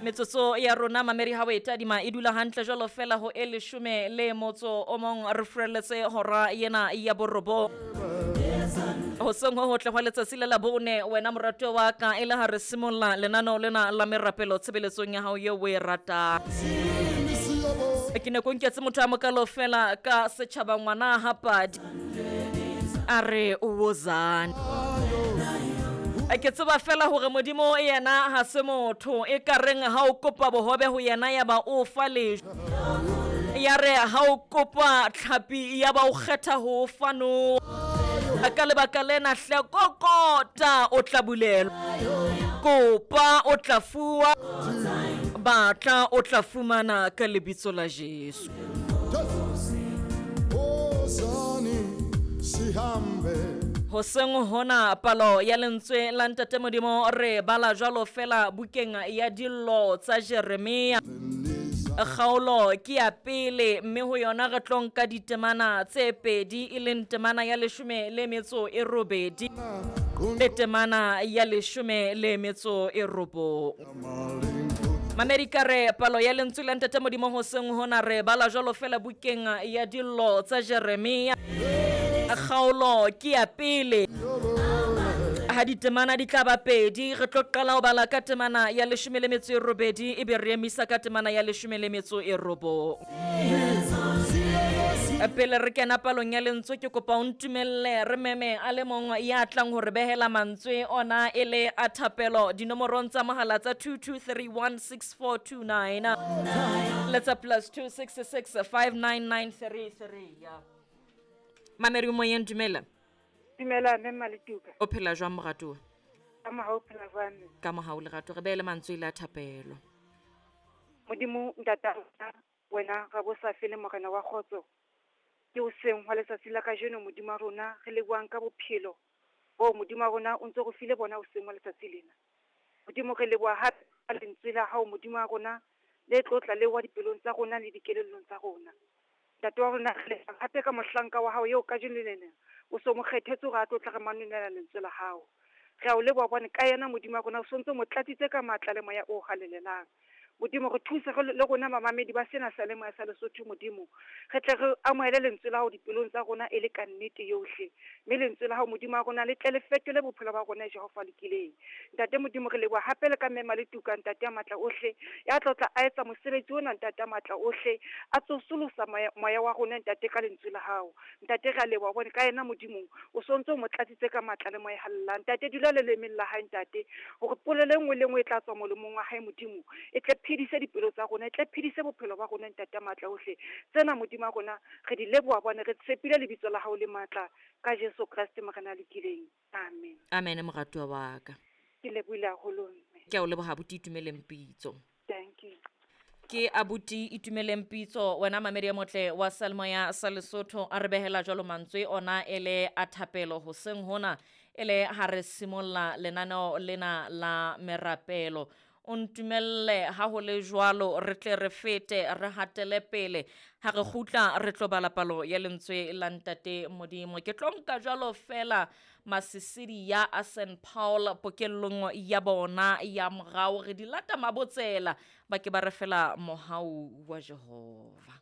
Metsotso ya rona mamedi ha o e tadima e dula hantle jwalo fela ho e leshome le motso o mong re furelletse hora yena ya borobong. Hoseng ho hotle hwa letsatsi le la bone wena moratuwa wa ka e le ha re simolla lenaneo lena la merapelo tshebeletsong ya hao eo o e ratang. Ke ne ko nketse motho a mokalo fela ka setšhaba ngwana ha padi a re wozane. Ke tseba fela hore Modimo yena ha se motho e ka reng ha o kopa bohobe ho yena ya ba o fa lejwe. Ya re ha o kopa tlhapi ya ba o kgetha ho fa no. Ka lebaka lena hle kokota o tla bulelwa. Kopa o tla fuwa. Batla o tla fumana ka lebitso la Jesu. Hoseng hona palo ya lentswe la Ntate Modimo re bala jwalo fela bukeng ya dillo tsa Jeremia. Kgaolo ke ya pele mme ho yona re tlo nka ditemana tse pedi e leng temana ya leshome le metso e robedi le temana ya leshome le metso e robong. Mamedi re palo ya lentswe la Ntate Modimo hoseng hona re bala jwalo fela bukeng ya dillo tsa Jeremia. Kgaolo ke ya pele. Ha ditemana di tla ba pedi re tlo qala ho bala ka temana ya leshome le metso e robedi ebe re emisa ka temana ya leshome le metso e robong. Pele re kena palong ya lentswe ke kopa o ntumelle re meme a le mong ya tlang ho re behela mantswe ona e le a thapelo dinomorong tsa mohala tsa 22316429 le tsa plus 266 59933 ya. Mamedi o moyeng dumela. Dumela mme Maletuka. O phela jwang moratuwa? Ka mohau phela jwang mme? Ka mohau lerato re behele mantswe le a thapelo. Modimo ntata rona wena ra bo sa fele morena wa kgotso. Ke hoseng hwa letsatsi la kajeno Modimo wa rona re lebohang ka bophelo bo Modimo wa rona o ntso re file bona hoseng hwa letsatsi lena. Modimo re leboha hape ka lentswe la hao Modimo wa rona le tlotla le wa dipelong tsa rona le dikelellong tsa rona. Ntate wa rona re leboha hape ka mohlanka wa hao eo kajeno lena o so mo kgethetse hore a tlo tla re manolela lentswe la hao. Re a o leboha hobane ka yena Modimo wa rona o sontso mo tlatsitse ka matla le moya o halalelang. Modimo re thuse re le rona mamamedi ba sena seyalemoya sa Lesotho Modimo. Re tle re amohele lentswe la hao dipelong tsa rona e le ka nnete yohle. Mme lentswe la hao Modimo wa rona le tle le fetole bophelo ba rona Jehova lokileng. Ntate Modimo re leboha hape le ka mme Maletuka ntate ya matla ohle ya tlo tla a etsa mosebetsi ona ntate ya matla ohle a tsosolosa moya wa rona ntate ka lentswe la hao. Ntate re a leboha hobane ka yena Modimo o sontso o mo tlatsitse ka matla le moya halalelang. Ntate dula le lemeng la hae ntate hore polelo e nngwe le nngwe e tla tswa molomong wa hae Modimo e tle phedise dipelo tsa rona e tle phedise bophelo ba rona ntate ya matla ohle. Tsena Modimo wa rona re di leboha hobane re tshepile lebitso la hao le matla ka Jesu Kreste morena a lokileng. Amen. Amen moratuwa wa ka. Ke lebohile haholo mme. Ke a o leboha abuti Itumeleng Pitso. Thank you. Ke abuti Itumeleng Pitso wena mamedi ya motle wa Seyalemoya sa Lesotho a re behela jwalo mantswe ona e le a thapelo hoseng hona e le ha re simolla lenaneo lena la merapelo. O ntumelle ha ho le jwalo re tle re fete re hatele pele ha re kgutla re tlo bala palo ya lentswe la Ntate Modimo. Ke tlo nka jwalo fela masisidi ya a St Paul pokellong ya bona ya morao re di lata mabotsela ba ke ba re fela mohau wa Jehova.